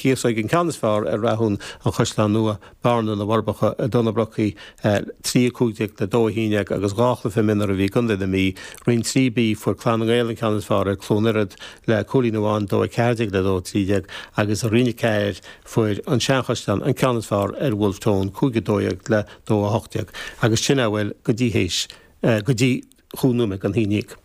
Chíosóig an ceann is fearr ar Rathún, An Chaisleán Nua, Bearna, Na Forbacha, Dún na Brocaí, 3, 15 le 2, 11 agus 2 chluiche mionúr a bhí i gContae na Mí. Roinn 3B, fuair Clann na nGael an ceann is fearr ar Cluain Ioraird le cúilín amháin, 2, 14 le 2, 13, agus i Roinn 4, fuair An Seanchaisleán an ceann is fearr ar Wolfe Tone, 5, 12 le 2, 18. Agus sin a bhfuil go dtí théis, go dtí chúig nóiméad don haon dhéag.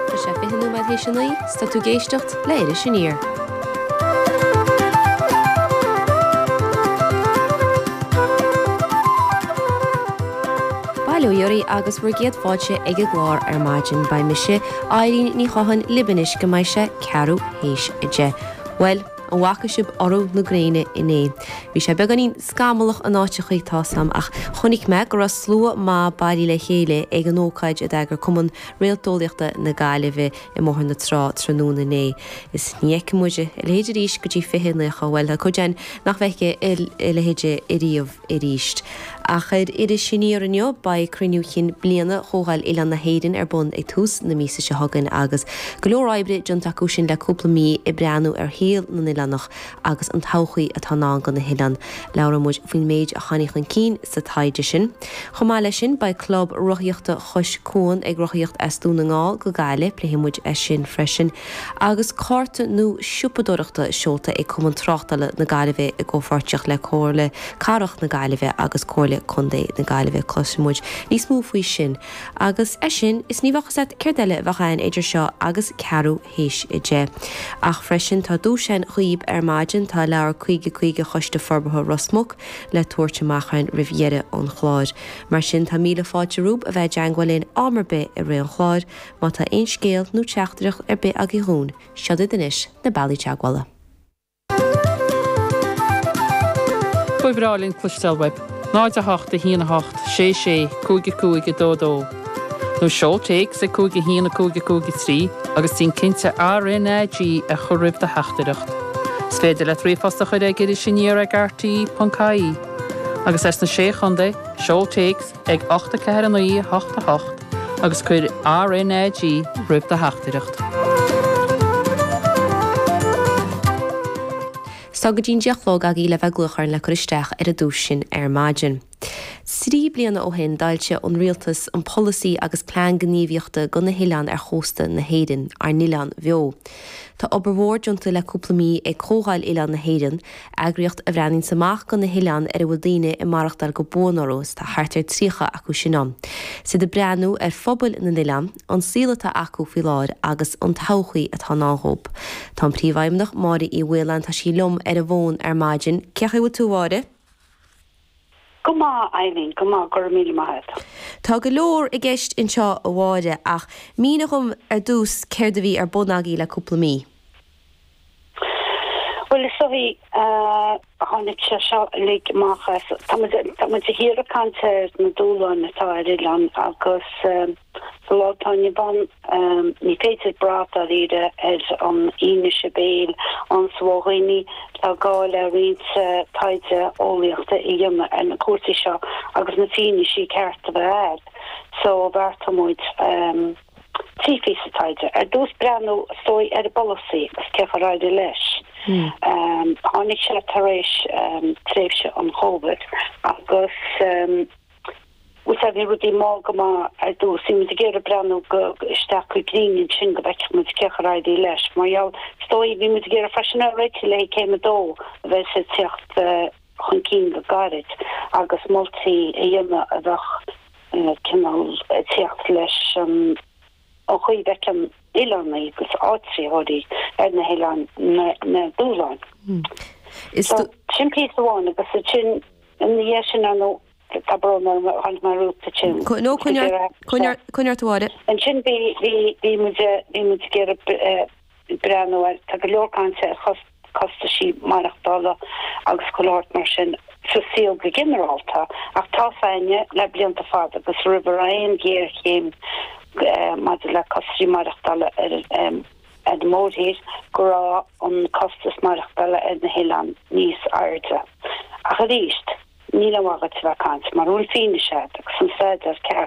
Tá sé 20 nóiméad théis a 9, 's tá tú ag éisteacht le Iris Aniar. Bail ó Dhia oraibh agus bhur gcéad fáilte ag an gclár ar maidin. Beidh mise, Eilín Ní Chatháin, libh anois go mbeidh sé ceathrú théis a 10. Bhuel, An bhfaca sibh urú na gréine inné? Bhí sé beagáinín scamallach in áiteachaí, tá's a'm, ach chonaic mé go raibh slua maith bailithe le chéile ag an ócáid a d'eagraigh Cumann Réalteolaíochta na Gaillimhe i mBóthar na Trá tráthnóna inné. Is ní fheicfidh muid a leithéid arís go dtí 2090, bhuel, tá cuid againn nach bhfeicfidh a leithéid ariamh arís. Ach ar Iris Aniar inniu, beidh cruinniú chinn bliana Chomhdháil Oileáin na hÉireann ar bun ag tús na míosa seo chugainn agus go leor oibre déanta acu sin le cúpla mí ag breathnú ar shaol na n-oileánach agus an todhchaí atá i ndán do na hoileáin. Labhróidh muid faoin méid a tháinig chun cinn sa taighde sin. Chomh maith leis sin, beidh Club Rothaíochta Chois Cuan ag rothaíocht as Dún na nGall go Gaillimh, pléifidh muid é sin freisin. Agus cárta nua siopadóireachta seolta ag Cumann Tráchtála na Gaillimhe i gcomhpháirtíocht le Comhairle Cathrach na Gaillimhe agus Comhairle Contae na Gaillimhe. Cloisfidh muid níos mó faoi sin agus é sin is ní bheadh fhios a't céard eile a bheadh ann idir seo agus ceathrú théis a 10. Ach freisin tá duais ann dhaoib ar maidin, tá leabhar 50 50 Choiste Forbartha Ros Muc le tabhairt amach againn roimh dheireadh an chláir. Mar sin tá míle fáilte romhaibh a bheith i dteangmháil linn am ar bith i rith an chláir. Má tá aon scéal nó teachtaireacht ar bith agaibh dhúinn, seod iad anois na bealaí teagmhála. Ba bhreá linn cloisteáil uaibh. 0 8 1 8 6 6 5 5 2 2 Nó seol téacs ag 5 1 5 5 3 agus déan cinnte RnaG a chur roimh do theachtaireacht. Is féidir leat ríomhphost a chur ag irisaniar ag rte.ie. Agus as na Sé Chontae, seol téacs ag 8 4 9 8 8 agus cuir RnaG roimh do theachtaireacht. 'S tá go dtí'n 10 a chlog agaibh le bheith ag glaoch orainn le cur isteach ar an duais sin ar maidin. 3 bliana ó shin d'fhoilsigh an Rialtas an polasaí agus plean gníomhaíochta do na hoileáin ar chósta na hÉireann, Ár nOileáin Bheo. Tá obair mhór déanta le cúpla mí ag Comhdháil Oileáin na hÉireann, eagraíocht a bhreathnaíonns amach do na hoileáin ar a bhfuil daoine ag maireachtáil go buan orthu, is tá thart ar 30 acu sin ann. 'S iad ag breathnú ar phobail na n-oileán, an saol atá acu faoi láthair agus an todhchaí atá i ndán dhóibh. Tá an Príomhfheidhmeannach, Máire Uí Mhaoláin, tá sí liom ar an bhfón ar maidin. Cén chaoi a bhfuil tú, a Mháire? Go maith, Eileen, go maith, go raibh míle maith agat. Tá go leor i gceist anseo, a Mháire, ach mínigh dhom ar dtús céard a bhí ar bun agaibh le cúpla mí. Bhuel, is dóigh, tháinig sé seo uilig amach as, tá muid, tá muid de shíor ag caint ar na dúshláin atá ar oileáin agus sa lá atá inniu ann, ní féidir brath dáiríre ar an fhianaise béil ann sa mhó dhaoine, tá gá le roinnt taighde eolaíochta a dhéanamh ar na cúrsaí seo agus na fianaisí ceart a bheith agat. So bheartaigh muid. 3 phíosa taighde. Ar dtús breathnú, is dóigh, ar an bpolasaí agus cén chaoi ar éirigh leis. Tháinig sé tar éis tréimhse an Chóivid agus bhfuil a fhios agat bhí rudaí mall go maith ar dtús. Bhí muid ag iarraidh breathnú go isteach go cruinn ansin go bhfeicfeadh muid cén chaoi ar éirigh leis. Mar gheall, is dóigh, bhí muid ag iarraidh freisin a réiteach le haghaidh céim a dó a bheas ag teacht chun cinn go gairid agus moltaí a dhéanamh a bheadh cineál ag teacht leis an chaoi a bhfeiceann oileánaigh agus áitritheoirí ar na hoileáin na dúshláin. So, sin píosa amháin agus ansin ina dhiaidh sin ar ndóigh tá brón orm tháinig mé romhat ansin. No, coinnigh ort a Mháire. Ansin bhí bhí muid bhí muid ag iarraidh breathnú air. Tá go leor cainte ar chostaisí maireachtála agus chuile shórt mar sin sa saol go ginearálta ach tá 's againne le blianta fada agus roimh a raibh aon ghéarchéim maidir le costaisí maireachtála ar an mórthír go raibh an costas maireachtála ar na hoileáin níos airde. Ach arís, níl aon mhaith dhuit a bheith ag caint mura bhfuil fianaise agat agus an staidéar ceart.